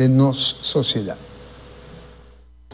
den nos sosiedat.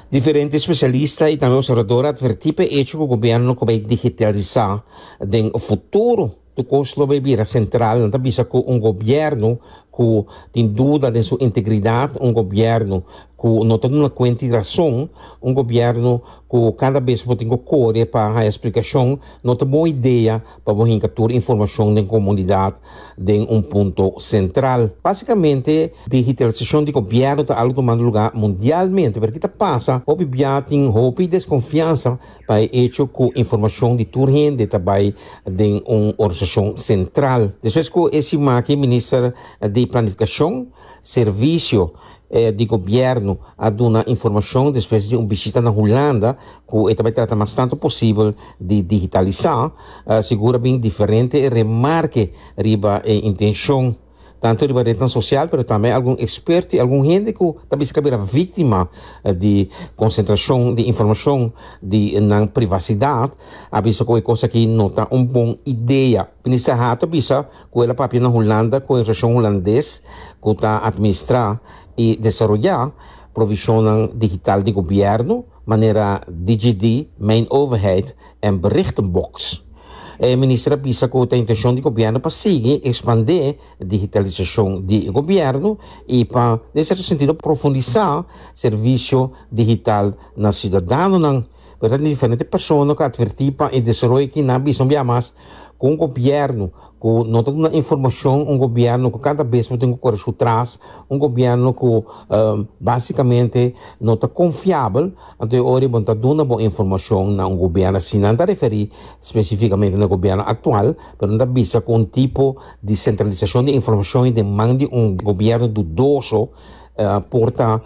Diferente spesialista i tambe observador a atvertí pa e echo ku gobièrnu ku bai digitalisá den futuro tur kos lo bai bira sentral. Nan ta bisa ku un gobièrnu ku tin duda den su integridat, un gobièrnu ku no ta duna kuenta i rason, un gobièrnu ku kada bes bo tin ku kore pa haña splikashon, no ta bon idea pa bo hinka tur informashon den komunidat den un punto sentral. Básikamente, digitalisashon di gobièrnu ta algu tumando lugá mundialmente, pero ki ta pasa? Hopi bia tin hopi deskonfiansa pa e echo ku informashon di tur hende ta bai den un organisashon sentral. Despues ku e siman aki Minister di Planifikashon, Servisio di Gobièrnu a duna informashon despues di un bishita na Hulanda ku e ta bai trata mas tantu posibel di digitalisá, sigur a bin diferente remarke riba e intenshon, tantu riba retnan sosial pero tambe algun eksperto i algun hende ku ta bisa ku a bira víktima di konsentrashon di informashon di nan privasidat a bisa ku e kos aki no ta un bon idea. Minister Hato a bisa ku el a papia na Hulanda ku e organisashon hulandes ku ta atministrá i desaroyá provishonnan digital di gobièrnu manera DigiD, Mijn Overheid en Berichtenbox. E minister a bisa ku ta intenshon di gobièrnu pa sigui ekspandé digitalisashon di gobièrnu i pa den sierto sentido profundisá servisio digital na siudadanonan. Pero ta diferente persona ku a atvertí pa e desaroyo aki nan a bisa un bia mas ku un gobièrnu ku no ta duna informashon, un gobièrnu ku kada bes bo tin ku kore su tras, un gobièrnu ku básikamente no ta konfiabel, anto e ora bo no ta duna bo informashon na un gobièrnu asina. Nan ta referí spesifikamente na e gobièrnu aktual, pero nan ta bisa ku un tipo di sentralisashon di informashon i den man di un gobièrnu dudoso por ta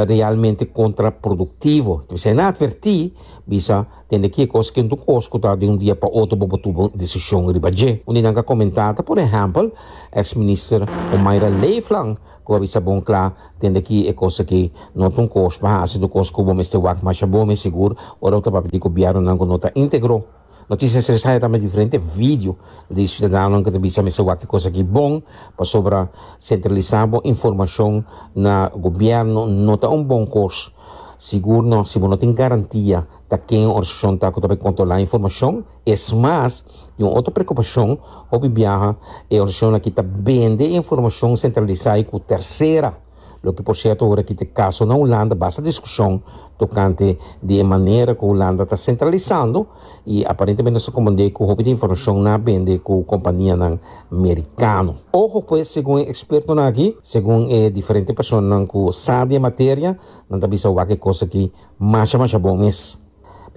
realmente kontraproduktivo. P'esei nan a atvertí, bisa, Tende ki e kos ken tur kos ku ta di un dia pa otro bo por tuma un desishon riba dje. Un di nan ka komentá ta por ehèmpel eks minister Omayra Leeflang ku a bisa bon kla, Tende ki e kos aki no ta un kos pa hasi, ta un kos ku bo mester wak masha bon mes sigur ora bo ta papia di gobièrnunan ku no ta íntegro. Noticias tres haya tambe diferente video di ciudadanonan cu ta bisa mester wak e cos aki bon pasobra centralisa bo informacion na gobierno no ta un bon cos. Sigur no si bo no tin garantia ta ken e organisacion ta cu ta bay controla informacion. Es mas, di un otro preocupacion, hopi biaha e organisacion aki ta bende e informacion centralisa y cu tercera. Loke por sierto ora ki ta e kaso na Hulanda basta diskushon tokante di e manera ku Hulanda ta sentralisando i aparentemente nos ta komprendé ku hopi di informashon nan a bende ku kompanianan merikano. Ojo pues segun e ekspertonan aki, segun e diferente personanan ku sa di e materia, nan ta bisa wak e kos aki masha masha bon mes.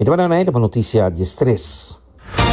Mi ta manda nan pa notisia diestres.